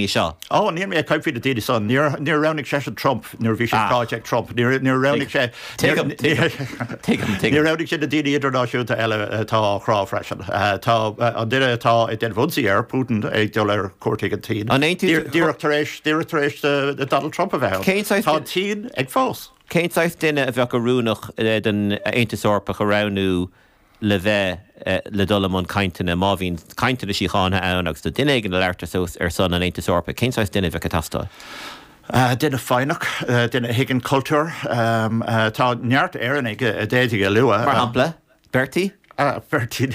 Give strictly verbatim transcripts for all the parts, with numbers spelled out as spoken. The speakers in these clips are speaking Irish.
seo. Ó níl mé ag caint faoi na daoine san níor níor roghnaigh seisean Trump nuair bhí sé Ah. ráite ag Trump níor níor roghnaigh sé Tuigim, tuigim, tuigim. Níor roghnaigh sé na daoine idirnáisiúnta eile atá á chrá freisin. Eh, Tá eh, an duine atá ag déanamh ionsaí air Putin ag dul ar cuairt ag an tSín. An aontaíonn- Díreach tar éis díreach tar éis de- de Donald Trump a bheith. Cén saghas Tá duine- an tSín ag fás. Cén saghas duine a bheadh oiriúnach eh, den Aontas Eorpach a roghnú le bheith eh, le dul i mbun cainteanna má bhíonn cainteanna síochána ann agus do duine éigin le labhairt suas ar son an Aontais Eorpaigh, cén saghas duine a bheadh ag teastáil? Uh, duine foighneach, uh, duine a thuigeann cultúr, um, uh, tá neart Éireannaigh a d'fhéadfaí a lua. Mar shampla, Bertie? Uh, Bertie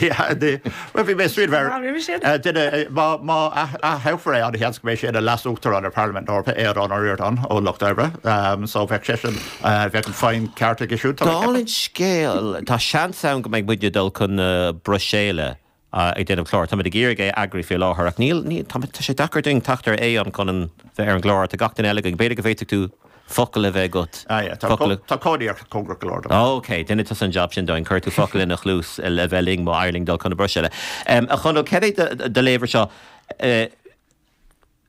Well bhí mé sríd Ah, roimhe sin? duine má má thoghfar é an sheans go mbeidh sé ina leas-uachtarán ar Parlaimint Eorpach Aodhán Ó Ríordáin ó Lucht Oibre, um, so bheadh sé sin uh, bheadh an foighne ceart aige siúd. Dála an scéil tá seans ann go mbeidh muidne dul chun na Bruiséile ag déanamh clár Tá ag iarraidh é a eagrú faoi láthair ach níl ní tá tá sé deacair dúinn teacht ar é an chun an bheith ar an gclár tá gach duine eile go b'fhéidir go bhféadfadh tú focal a bheith agat. Ah, yeah, tá Focal- tá cóiríocht cóngarach go leor. Ok, déanfaidh tú an job sin dúinn, cuir tú focal ina chluas le bheith linn má éiríonn dul chun na Bruiséile. Um, a Chonaill cad é do léamh air seo uh,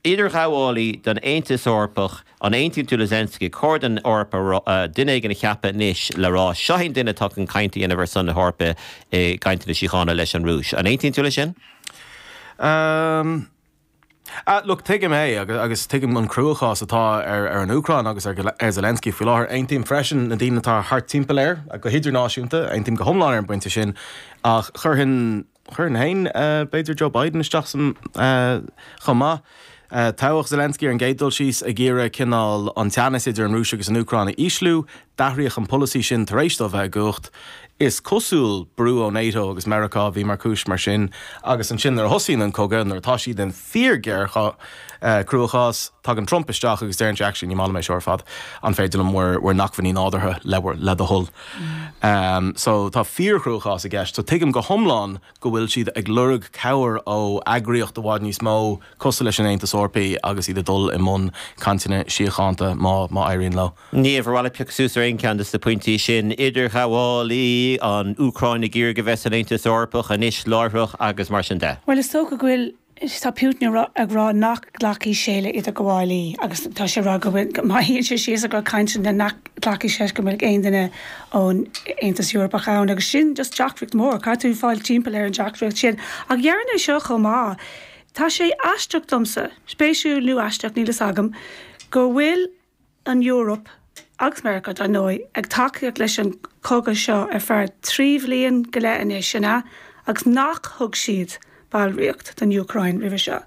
idirghabhálaí don Aontas Eorpach an aontaíonn tú le Zelensky chóir don Eoraip uh, duine éigin a cheapadh anois le rá seo an duine atá chun caint a dhéanamh ar son na hEorpa i gcainteanna síochána leis an Rúis. An aontaíonn tú le sin? Um, Uh, look, tuigim é agus, agus tuigim an cruachás atá ar, ar an Úcráin agus ar, ar Zelensky faoi láthair aontaím freisin na daoine atá thart timpeall air go hidirnáisiúnta aontaím go hiomlán ar an bpointe sin ach chuirfinn chuirfinn féin uh, b'fhéidir Joe Biden isteach san uh, chomh maith. Uh, Toghadh Zelensky ar an gcéad dul síos ag iarraidh cineál an teannas idir an Rúis agus an Úcráin a ísliú, d'athraigh an polasaí sin tar éis dó bheith i gcumhacht. Is cosúil brú ó NATO agus Meiriceá bhí mar chúis mar sin, agus ansin nuair a thosaíonn an cogadh nuair atá siad in fíor uh, cruachás tagann Trump isteach agus deireann sé actually ní maith liom é seo ar fad an féidir liom bhur bhur n-acmhainní nádúrtha le le do thoil. Um, so tá fíorchruachás i gceist, so tuigim go hiomlán go bhfuil siad ag lorg cabhair ó eagraíocht i bhfad níos mó cosúil leis an Aontas Eorpach agus iad ag dul i mbun cainteanna síochána má má éiríonn leo. Ní bhfuil piocadh suas ar aon cheann de na pointí sin idirghabhálaí an Úcráin ag iarraidh a bheith san Aontas Eorpach anois láithreach agus mar sin de. Well is dócha go bhfuil tá Putin ag rá- ag rá nach nglacfaidh sé le idirghabhálaí agus tá sé rá go bhfuil má shuíonn sé síos ag caint na nach nglacfaidh sé go mbeidh aon duine ón Aontas Eorpach ann agus sin just deacracht mór caithfidh tú fáil timpeall ar an deacracht sin ach dhearna seo chomh maith. Tá sé aisteach domsa, spéisiúil nó aisteach níl a fhios agam, go bhfuil an Eoraip agus Meiriceá dar ndóigh ag tacaíocht leis an cogadh seo ar feadh trí bhliain go leith anois sin agus nach thug siad ballraíocht don Úcráin roimhe seo.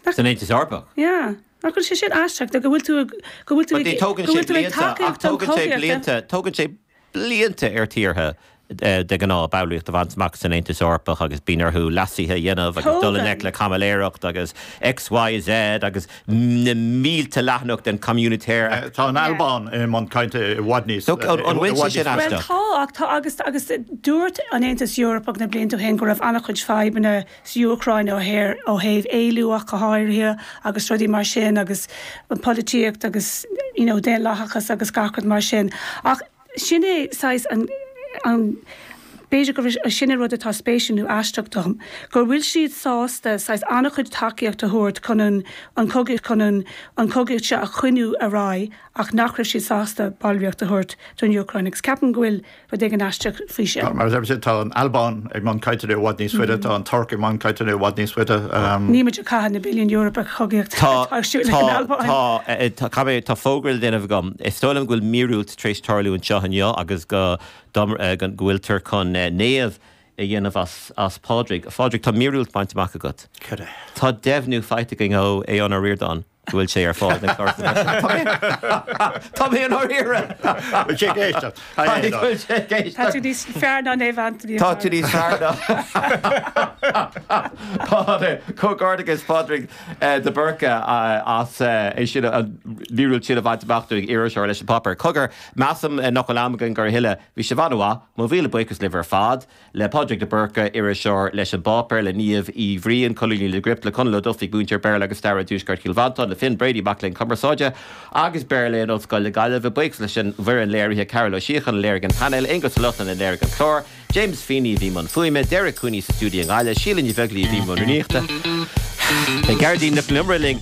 San Aontas Eorpach. Ja, nach bhfuil sé sin aisteach go bhfuil tú go bhfuil tú But tógann go sé bhfuil tú ag blianta ach tacaíocht don tógann sé chogaíocht, blianta tógann sé blianta ar tíortha eh, de ghnáth ballraíocht a bhaint amach san Aontas Eorpach agus bíonn orthu leasuithe a dhéanamh agus dul Tógann. le caimiléireacht agus XYZ agus na mílte leathanach den communautaire. Tá an Albáin i mbun cainte i bhfad níos. So, an- an bhfuil sé sin Well aisteach? tá ach tá agus agus dúirt an Aontas Eorpach na blianta ó shin go raibh an-chuid fadhbanna sa Úcráin ó thaobh ó thaobh éilliú ach go háirithe agus rudaí mar sin agus an polaitíocht agus you know, daonlathachas agus gach rud mar sin. Ach sin é saghas an an B'fhéidir go sin rud atá spéisiúil nó aisteach dom, gur bhfuil siad sásta saghas an-chuid tacaíocht a thabhairt chun an an cogaíocht chun an an cogaíocht seo a choinneáil ar aghaidh ach nach raibh siad sásta ballraíocht a thabhairt don Úcráin agus ceapaim go bhfuil rud éigin aisteach faoi sin. Mar a tá an Albáin ag mbun cainte i bhfad níos faide, tá an Tuirc i mbun cainte i bhfad níos faide. Ní muid caitheamh na billiún euro ar chogaíocht Tá tá tá eh, tá tá tá fógra le déanamh agam. Is dóigh liom go bhfuil míorúilt tar éis tarlú anseo inniu agus go dom- eh, go go bhfuiltear chun eh, naomh a dhéanamh as as Pádraig. Phádraig tá míorúilt bainte amach agat. Cad é. Tá deimhniú faighte againn ó Aodhán Ó Ríordáin go bhfuil sé ar fáil den chlár. Tá mé an ríre. Bhfuil sé ag éisteacht. Tá tú níos fearr ná Naomh Anthony. Tá tú níos fearr Comhghairdeas Pádraig de Burca as é sin an mhíorúilt sin a bhaint amach ag iriseoir leis an bpáipéar. Cogar measaim nach bhfuil am againn a thuilleadh bhí sé an-mhaith, mo mhíle buíochas libh ar fad le Pádraig de Burca iriseoir leis an bpáipéar le Niamh Uí Bhriain colúnaí le Gript le Conall Ó Dufaigh múinteoir Béarla agus Staire Tuaisceart Chill Mhantáin le Finn Brady mac léinn cumarsáide agus Béarla in Ollscoil na Gaillimhe buíochas leis an bhfoireann léirithe Carol Ó Síochan a léirigh an painéal Aonghus Ó Lochlainn a léirigh an clár, James Feeney bhí i mbun fuaime, Derek Cooney sa stiúideo i nGaillimh, Síle Ní Bheaglaoich bhí i mbun rúnaíochta. Gearóidín Nic Con Iomaire linn.